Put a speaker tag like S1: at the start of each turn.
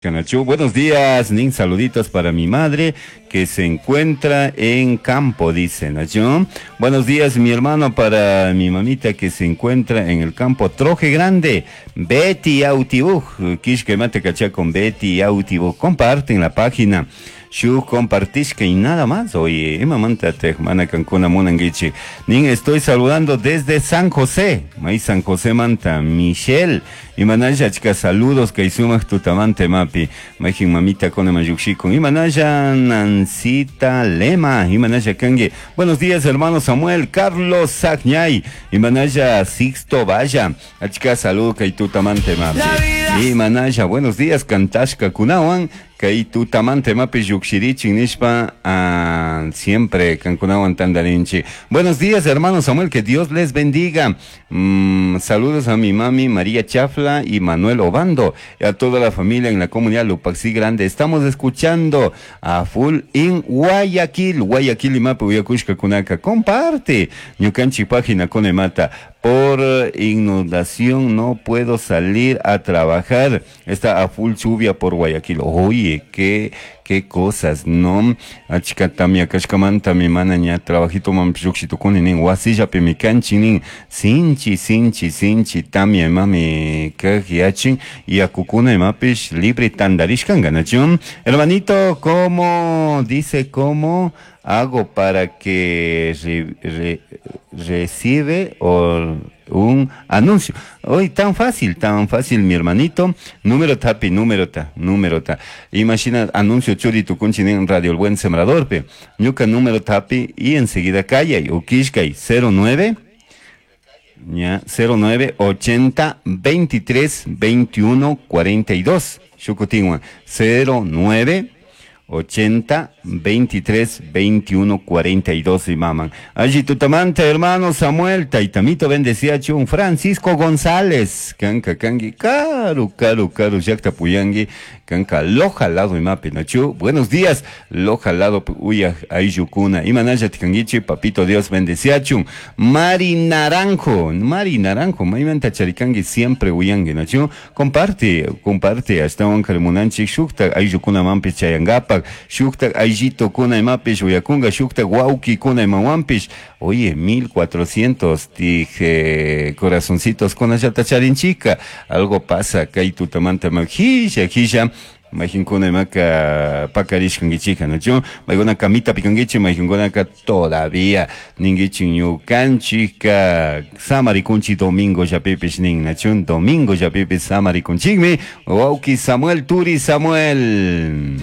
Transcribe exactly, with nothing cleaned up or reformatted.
S1: Canachu. Buenos días, Nin, saluditos para mi madre que se encuentra en campo, dice Nacho. Buenos días, mi hermano, para mi mamita que se encuentra en el campo Troje Grande, Betty Autibuj, Quishque Mate Cachá con Betty Autibuj. Comparten la página. Shu compartishka y nada más. Oye, imamanta te mana kankuna munanguichi. Nin, estoy saludando desde San José. May San José manta Michelle. Imanaya chica saludos que sumaq tutamante mapi. Majin mamita con mayukshikun. Imanaya Nancita Lema. Imanaya kangue. Buenos días, hermano Samuel Carlos Sagñay. Imanaya Sixto Vaya. Achika saludo kay tutamante mapi. Imanaya, buenos días, kantashka kunawan. Kay tutamante mapi llukshirichin nishpa ah, siempre kankunawan tandarinchi. Buenos días, hermano Samuel, que Dios les bendiga. Mm, saludos a mi mami María Chafla y Manuel Obando y a toda la familia en la comunidad Lupaxi Grande. Estamos escuchando a full in Guayaquil, Guayaquil y Mapu Uyakushka Kunaka. Comparte Ñukanchi página con Emata. Por inundación no puedo salir a trabajar. Está a full lluvia por Guayaquil. Oye, qué, qué cosas, ¿no? Achika tamia kashkamanta mi mana ña trabajito man nin wasilla pe mi kanchi sinchi sinchi sinchi tamia mami kajyachin y akukuna imapish libre tandarishkan ganachun. Hermanito, ¿cómo dice cómo hago para que re, re, recibe o un anuncio? Hoy tan fácil, tan fácil, mi hermanito. Número tapi, número ta, número ta. Imagina anuncio churi tu en Radio El Buen Sembrador, pe. Ñuka número tapi y enseguida calla y ukishkay cero nueve ya cero nueve ochenta veintitrés veintiuno cuarenta y dos. Shukutinwa cero nueve ochenta veintitrés veintiuno cuarenta y dos y maman. Allí tutamante, hermano Samuel, Taitamito bendecía chun, Francisco González, kanka kangi, karu, karu, karu, yakta puyangi, kanka loja lado y mapi nachu. Buenos días, loja lado uya ayukuna, imanaya tikangichi, papito Dios bendecía chun, Mari Naranjo, Mari Naranjo, maimanta charikangi siempre uyangi nachu. Comparte, comparte, hasta un carmunanchi, shukta ayukuna mampi chayangapa, shukta ayito kuna imapish uyakunga shukta guauki kuna imawampish. Oye, mil cuatrocientos dije corazoncitos con allata charinchica. Algo pasa, kay tutamanta majilla, jilla. Majinkuna imaka pakarishkangichika, ¿no? Yo, maiguna kamita pikangichi, majinkuna ka todavía ningichi ñukanchika samarikunchi domingo yapipish nin, ¿no? Domingo yapipis samarikunchikmi, wauki Samuel Turi Samuel.